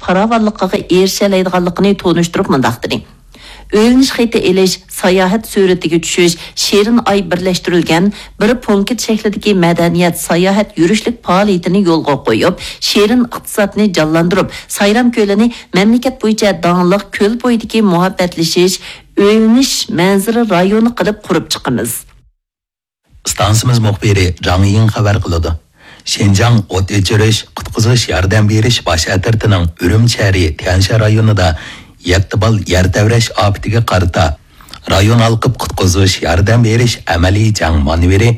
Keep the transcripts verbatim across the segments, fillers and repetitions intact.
پاراۋانلىقىغا ئېرىشەلەيدىغانلىقىنى تونۇشتۇرۇپ مۇنداق دېدى: ئۆيلىنىش خېتى ئېلىش، ساياھەت سۈرىتىگە چۈشۈش، شېرىن ئاي بىرلەشتۈرۈلگەن بىر پونكىت شەكلىدىكى مەدەنىيەت، ساياھەت، يۈرۈشلۈك پائالىيىتىنى يولغا قويۇپ، شېرىن ئىقتىسادنى جانلاندۇرۇپ، سايرام كۆلىنى مەملىكەت بويىچە داڭلىق كۆل بويىدىكى مۇھەببەتلىشىش، ئۆيلىنىش مەنزىرە رايونى قىلىپ قۇرۇپ چىقىمىز. ئىستانسىمىز مۇخبىرى جاڭ يىڭ خەۋەر قىلىدۇ. شىنجاڭ ئوت ئۆچۈرۈش، قۇتقۇزۇش ياردەم بېرىش باش ئەترىتىنىڭ ئۈرۈمچى شەھىرى تيەنشان رايونىدا يەتتە بال يەر تەۋرەش ئاپىتىگە قارىتا رايون ھالقىپ قۇتقۇزۇش ياردەم بېرىش ئەمەلىي جەڭ مانېۋىرى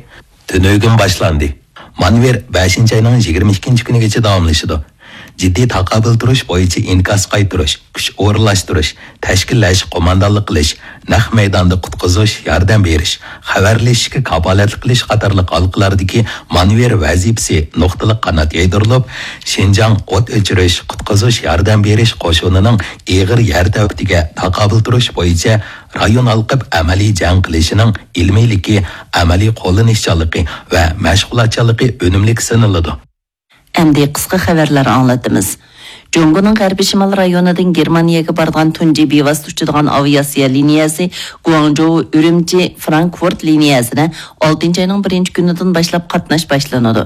تۈنۈگۈن باشلاندى. مانېۋىر بەشىنچى ئاينىڭ يىگىرمە ئىككىنچى كۈنىگىچە داۋاملىشىدۇ. جىددىي تاقابىل تۇرۇش بويىچە ئىنكاس قايتۇرۇش، كۈچ ئورۇنلاشتۇرۇش، تەشكىللەش، قوماندانلىق قىلىش، نەق مەيداندا قۇتقۇزۇش، ياردەم بېرىش، خەۋەرلىشىشكە كاپالەتلىك قىلىش قاتارلىق ھالقىلەردىكى مانېۋىر ۋەزىپىسى نۇقتىلىق قانات يايدۇرۇلۇپ، شىنجاڭ ئوت ئۆچۈرۈش، قۇتقۇزۇش، ياردەم بېرىش قوشۇنىنىڭ ئېغىر يەر تەۋرىتىگە تاقابىل تۇرۇش بويىچە رايون ھالقىپ ئەمەلىي جەڭ قىلىشىنىڭ ئىلمىيلىكى، ئەمەلىي قوللىنىشچانلىقى ۋە مەشغۇلاتچانلىقى ئۈنۈملۈك سىنىلىدۇ. ئەمدى قىسقا خەۋەرلەر ئاڭلىتىمىز. جۇڭگونىڭ غەربىي شىمال رايونىدىن گېرمانىيەگە بارىدىغان تۇنجى بىۋاسىتە ئۇچىدىغان ئاۋىئاتسىيە لىنىيەسى گۇاڭجۇ ئۈرۈمچى فرانكفورت لىنىيەسىدە ئالتىنچى ئاينىڭ بىرىنچى كۈنىدىن باشلاپ قاتناش باشلىنىدۇ.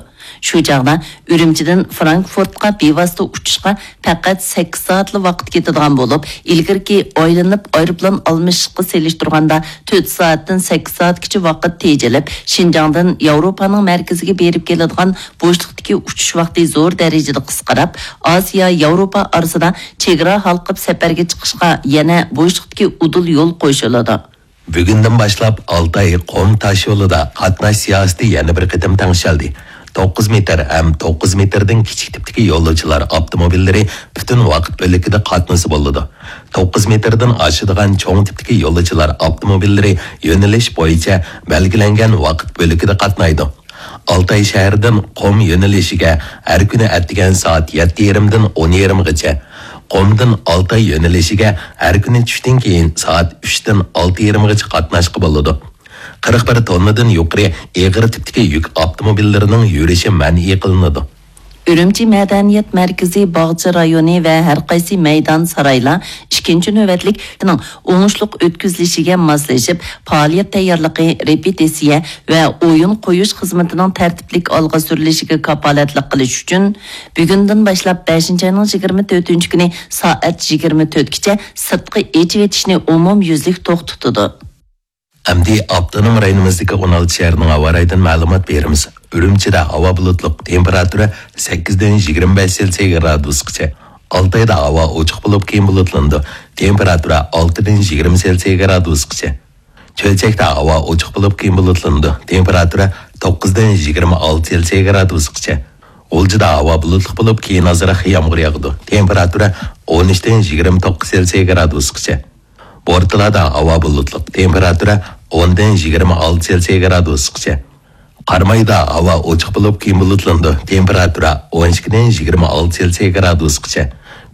شۇ چاغدا ئۈرۈمچىدىن فرانكفورتقا بىۋاسىتە ئۇچۇشقا پەقەت سەككىز سائەتلا ۋاقىت كېتىدىغان بولۇپ، ئىلگىرىكى ئايلىنىپ ئايروپىلان ئالمىشىشقا سېلىشتۇرغاندا تۆت سائەتتىن سەككىز سائەتكىچە ۋاقىت تېجىلىپ، شىنجاڭدىن ياۋروپانىڭ مەركىزىگە بېرىپ كېلىدىغان بوشلۇقتىكى ئۇچۇش ۋاقتى زور دەرىجىدە قىسقىراپ، ئاسىيا، ياۋروپا ئارىسىدا چېگرا ھالقىپ سەپەرگە چىقىشقا يەنە بوشلۇقتىكى ئۇدۇل يول قوشۇلىدۇ. بۈگۈندىن باشلاپ ئالتاي قۇم تاش يولىدا قاتناش سىياسىتى يەنە بىر قېتىم تەڭشەلدى. توققۇز مېتىر ھەم توققۇز مېتىردىن كىچىك تىپتىكى يولۇچىلار ئاپتوموبىللىرى پۈتۈن ۋاقىت بۆلىكىدە قاتنىسا بولىدۇ. توققۇز مېتىردىن ئاشىدىغان چوڭ تىپتىكى يولۇچىلار ئاپتوموبىللىرى يۆنىلىش بويىچە بەلگىلەنگەن ۋاقىت بۆلىكىدە قاتنايدۇ. ئالتاي شەھىرىدىن قۇم يۆنىلىشىگە ھەر كۈنى ئەتىگەن سائەت يەتتە يېرىمدىن ئون يېرىمغىچە، قۇمدىن ئالتاي يۆنىلىشىگە ھەر كۈنى چۈشتىن كېيىن سائەت ئۈچتىن ئالتە يېرىمغىچە قاتناشقا بولىدۇ. قىرىق بىر توننىدىن يۇقىرى ئېغىر تىپتىكى يۈك ئاپتوموبىللىرىنىڭ يۈرۈشى مەنئى قىلىنىدۇ. ئۈرۈمچى مەدەنىيەت مەركىزى باغچە رايونى ۋە ھەر قايسى مەيدان، سارايلار ئىككىنچى نۆۋەتلىك ئوڭۇشلۇق ئۆتكۈزۈلۈشىگە ماسلىشىپ، پائالىيەت تەييارلىقى، رېپېتىتسىيە ۋە ئويۇن قويۇش خىزمىتىنىڭ تەرتىپلىك ئالغا سۈرۈلۈشىگە كاپالەتلىك قىلىش ئۈچۈن، بۈگۈندىن باشلاپ بەشىنچى ئاينىڭ يىگىرمە تۆتىنچى كۈنى سائەت يىگىرمە تۆتكىچە سىرتقا ئېچىۋېتىشنى ئومۇميۈزلۈك توختىتىدۇ. ئەمدى ئاپتونوم رايونىمىزدىكى ئون ئالتە شەھەرنىڭ ھاۋا رايىدىن مەلۇمات بېرىمىز. ئۈرۈمچىدە ھاۋا بۇلۇتلۇق، تېمپېراتۇرا سەككىزدىن يىگىرمە بەش سېلسىيە گرادۇسقىچە. ئالتايدا ھاۋا ئوچۇق بولۇپ، كېيىن بۇلۇتلىنىدۇ. تېمپېراتۇرا ئالتىدىن يىگىرمە سېلسىيە گرادۇسقىچە. چۆچەكتە ھاۋا ئوچۇق بولۇپ، كېيىن بۇلۇتلىنىدۇ. تېمپېراتۇرا توققۇزدىن يىگىرمە ئالتە سېلسىيە گرادۇسقىچە. غۇلجىدا ھاۋا بۇلۇتلۇق بولۇپ، كېيىن ئازراق يامغۇر ياغىدۇ. تېمپېراتۇرا ئون ئۈچتىن يىگىرمە توققۇز سېلسىيە گرادۇسقىچە. بورتالادا ھاۋا بۇلۇتلۇق، تېمپېراتۇرا ئوندىن يىگىرمە ئالتە سېلسىيە گرادۇسقىچە. قارامايدا ھاۋا ئوچۇق بولۇپ، كېيىن بۇلۇتلىنىدۇ، تېمپېراتۇرا ئون ئىككىدىن يىگىرمە ئالتە سېلسىيە گرادۇسقىچە.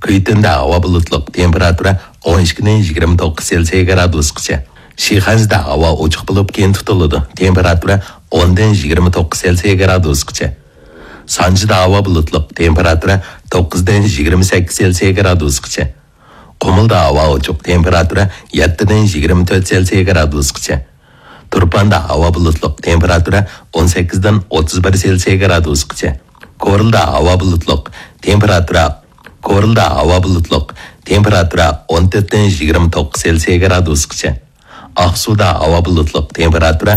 كۈيتۈندە ھاۋا بۇلۇتلۇق، تېمپېراتۇرا ئون ئىككىدىن يىگىرمە توققۇز سېلسىيە گرادۇسقىچە. شىخەنزىدە ھاۋا ئوچۇق بولۇپ، كېيىن تۇتۇلىدۇ، تېمپېراتۇرا ئوندىن يىگىرمە توققۇز سېلسىيە گرادۇسقىچە. سانجىدا ھاۋا بۇلۇتلۇق، تېمپېراتۇرا توققۇزدىن يىگىرمە سەككىز سېلسىيە گرادۇسقىچە. قۇمۇلدا ھاۋا ئوچۇق، تېمپېراتۇرا يەتتىدىن يىگىرمە تۆت سېلسىيە گرادۇسقىچە. تۇرپاندا ھاۋا بۇلۇتلۇق، تېمپېراتۇرا ئون سەككىزدىن ئوتتۇز بىر سېلسىيە گرادۇسقىچە. كورلىدا ھاۋا بۇلۇتلۇق، تېمپېراتۇرا، كورلىدا ھاۋا بۇلۇتلۇق، تېمپېراتۇرا ئون تۆتتىن يىگىرمە توققۇز سېلسىيە گرادۇسقىچە. ئاقسۇدا ھاۋا بۇلۇتلۇق، تېمپېراتۇرا،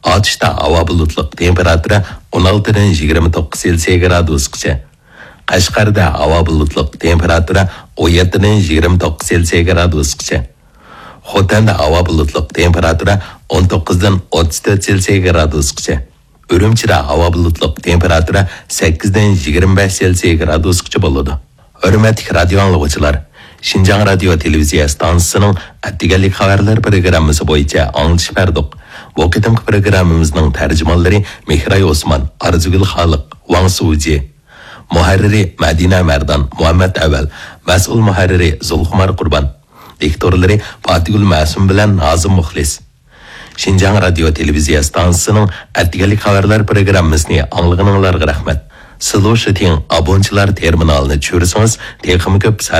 ئاتۇشتا ھاۋا بۇلۇتلۇق، تېمپېراتۇرا ئون ئالتىدىن يىگىرمە توققۇز سېلسىيە گرادۇسقىچە. قەشقەردە ھاۋا بۇلۇتلۇق، تېمپېراتۇرا ئون يەتتىدىن يىگىرمە توققۇز سېلسىيە گرادۇسقىچە. خوتەندە ھاۋا بۇلۇتلۇق، تېمپېراتۇرا ئون توققۇزدىن ئوتتۇز تۆت سېلسىيە گرادۇسقىچە. ئۈرۈمچىدە ھاۋا بۇلۇتلۇق، تېمپېراتۇرا سەككىزدىن يىگىرمە بەش سېلسىيە گرادۇسقىچە بولىدۇ. ھۆرمەتلىك رادىيو ئاڭلىغۇچىلار، شىنجاڭ رادىيو تېلېۋىزىيە ئىستانسىسىنىڭ ئەتىگەنلىك خەۋەرلەر پروگراممىسى بويىچە ئاڭلىتىش بەردۇق. بۇ قېتىمقى پروگراممىمىزنىڭ تەرجىمانلىرى مېھراي ئوسمان، ئارزۇگۈل خالىق، ۋاڭ سۇجى. مۇھەررىرى مەدىنە مەردان، مۇھەممەت ئەۋەل. مەسئۇل مۇھەررىرى زۇلخۇمار قۇربان. دىكتورلىرى پاتىگۈل مەسۇم بىلەن نازىم مۇخلىس. شىنجاڭ رادىيو تېلېۋىزىيە ئىستانسىسىنىڭ ئەتىگەنلىك خەۋەرلەر پروگراممىسىنى ئاڭلىغىنىڭلارغا رەھمەت. سلوشىتىڭ ئابونتچىلار تېرمىنالىنى چۈشۈرسىڭىز، تېخىمۇ كۆپ سەرخىل